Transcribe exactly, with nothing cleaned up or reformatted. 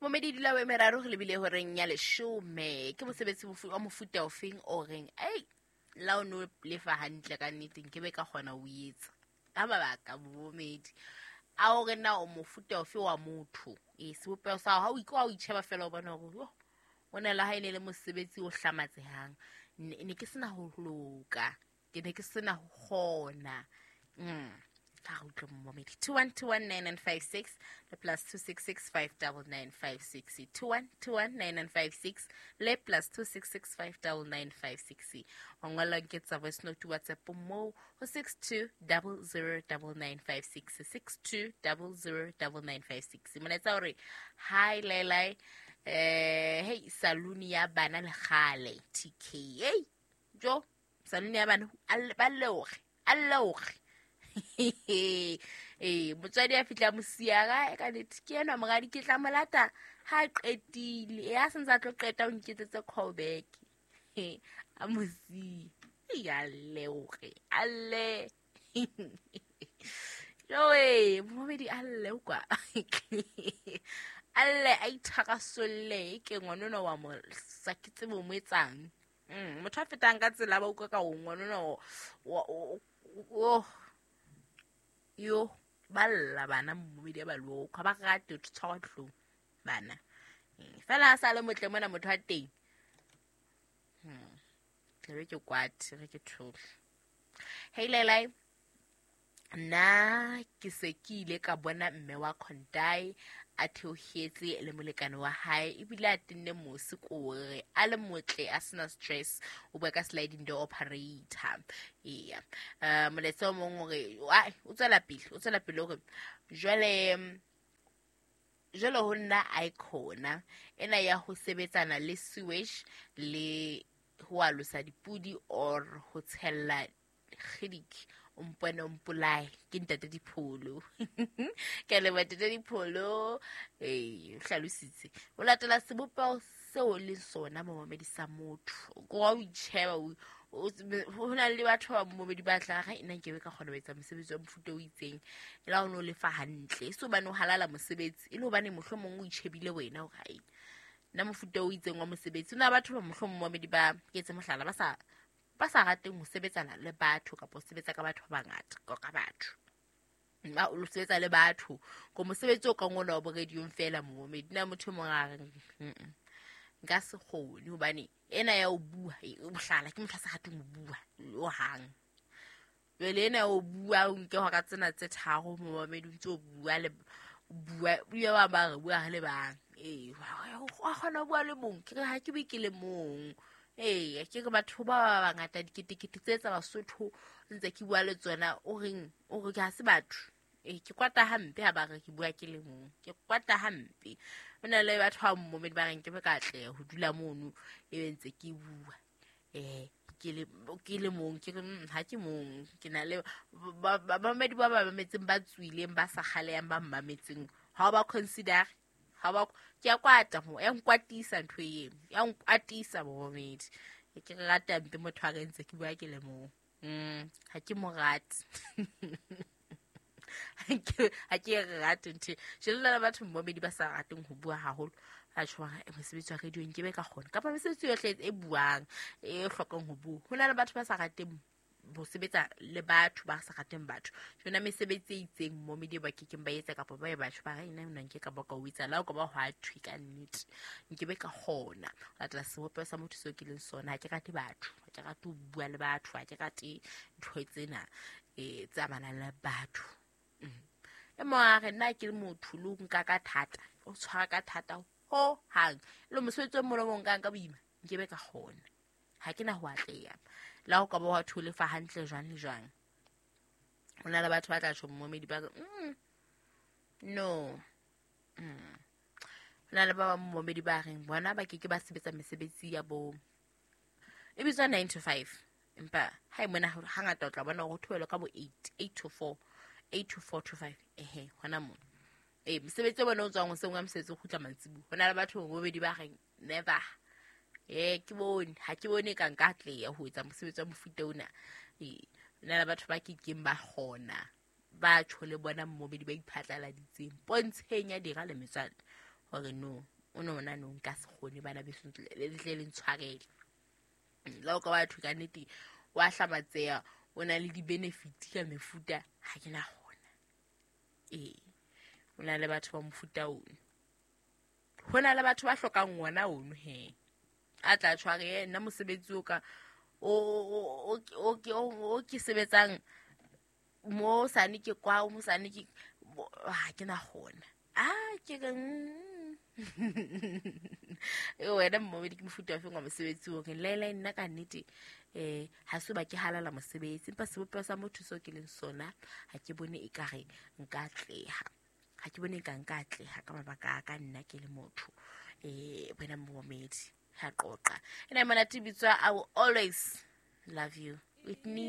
Momedi dula o meraro re lebile horeng ya leshome. Ke mosebetsi wa mofuta ofeng o reng ei la o no lefa hantle ka nnete nke be ka kgona ho etsa ka mabaka momedi a o re na o mofuta ofe wa motho e sebopeho sa hao ha o ikwa o itjheba fela o bona hore yo o na le ha e ne le mosebetsi o hlamatsehang ne ke sena ho loka ke ne ke sena ho kgona. Mm. two one two one nine nine five six le plus two six six five nine nine five six two one two one nine nine five six le plus two six six five nine nine five six. O ngola nke tsa voice note WhatsApp mo ho six two zero zero nine nine five six six two zero zero nine nine five six. Molaetsa hore hi Lelai eh hey saluni ya bana le kgale T K hey jo saluni ya bana ba leoge a leoge eh motswadi a fitla mosiara e ka nete ke ena moradi ke tla molata ha qetile ya sentse a tlo qeta o nketsetse call back a mosi ya leoge alle joe momedi alle kwa alle a ithakasolle ke ngwanona wa mo sa ke tsebo mo etsang mm motho a fetang ka tsela ba utlwa ka o ngwanona o yo balla bana momedi ba lokho ba rate ho tshwarwa tlong bana fela a sa le motle mona motho wa teng hmm ke re ke kwate re ke thole hey Lelai nna ke se ke ile ka bona mme wa Khondai a theohetse le molekane wa hae ebile a tenne mosi kore a le motle a sena stress o bua ka sliding door operator. Eya uh, molaetsa o mong hore o tswela pele o tswela pele hore jwale jwale ho nna icona ena ya ho sebetsana le sewage le ho alosa dipudi or ho tshella kgidik o mpone o mpolae ke ntate Dipholo ke le ntate Dipholo eh hlalositse o latela sebopeho seo le sona momedi sa motho go wa o itjheba ho na le batho ba momedi ba tla ga ena nke be ka kgona ho etsa mosebetsi wa mofuta o itseng e la o no lefa hantle so bane o halala mosebetsi e le hobane mohlomong o itjhebile wena hore hai nna mofuta o itseng wa mosebetsi o na batho ba mohlomong momedi ba ke etse mohlala ba sa ba sa rateng ho sebetsana le batho kapa ho sebetsa ka batho ba bangata ka batho nna o sebetsa le batho ko mosebetsi o ka ngona wa boradiong fela momedi nna motho mong a reng nka se kgone hobane ena ya o bua mohlala ke motho a sa rateng ho bua o hang jwale ena ya o bua o nke hora tsena tse tharo momedi o ntse o bua le bua bua ba ba re bua le bang ee wa kgona ho bua le mong ke re ha ke bue ke le mong. Ee ke re batho ba ba bangata diketekete tse tsa Basotho ntse ke bua le tsona o reng o re ke ha se batho ee ke kwata hampe ha ba re ke bua ke le mong ke kwata hampe ho na le batho ba momedi ba reng ke be ka atleha ho dula mono e be ntse ke bua eh ke le ke le mong ke re ha ke mong ke na le bamamedi ba ba mametseng ba tswileng ba sa kgaleyang ba mmametseng ha ba consider ha ba ke a kwata mo ya nkwatisa ntho eno ya nkwatisa momedi ke rata mpe motho a re ntse ke bua ke le mong mm ha ke mo rate ha ke rate ntho jela le batho momedi ba sa rateng ho bua haholo a tshwara mosebetsi wa radio nke be ka kgona kapa mesebetsi yohle e buang e hlokang ho bua ho na le batho ba sa rateng ho sebetsa le batho ba sa rateng batho jona mesebetsi e itseng momedi ba kekeng ba etsa kapa ba e batho ba re ena nna nke ka ba ka o etsa la o ka ba ho a thwe ka nnete nke be ka kgona latela sebopeho sa motho seo ke leng sona ha ke rate batho ha ke rate ho bua le batho ha ke rate ntho tsena eh tse amanang le batho. E mong a re nna ke le motho le o nka ka thata o tshwara ka thata ho hang le mosebetsi o mong le mong nkang ka boima nke be ka kgona ha ke na ho atleha la ho ka ba wa thole fa hantle jwang le jwang ho na le batho ba tla tjho momedi ba re mm no mm ho na le ba bang momedi ba reng bona ba ke ke ba sebetsa mesebetsi ya bo e bitswa nine to five empa ha e mona hangata o tla bona ho thoelwa ka bo eight eight to four eight to four to five ehe hona mo eh mosebetsi o bona o tswang hoseng wa mosebetsi o kgutla mantsibuya ho na le batho momedi ba reng never eh ke bone ha ke bone ka nka atleha ho etsa mosebetsi wa mofuta ona eh na le batho ba kekeng ba kgona ba tjho le bona momedi ba iphatlaladitseng pontsheng ya dira le metswalle Hore no, o no ona no nka se kgone bana beso le tle le ntshwarele. Le ha o ka batho ka nnete wa hlamatseha, o na le di-benefit ka mefuta, ha ke na kgona. Ee, o na le batho ba mofuta ono. Ho na le batho ba hlokang ona ono he. A tla tshware nna mosebetsi o ka o o o o ke sebetsang mo sane ke kwa mo sane ke ha ke na kgona. Ah ke re e wena mmomedi ke mofuta wa feng wa mosebetsi o reng laela nna ka nnete eh ha se ba ke halala mosebetsi empa sebopeho sa motho seo ke leng sona ha ke bone ekare nka atleha. Ha ke bone eka nka atleha ka mabaka a ka nna ke le motho. Eh wena mmomedi ha qoqa. Ena monate bitswa I will always love you with me.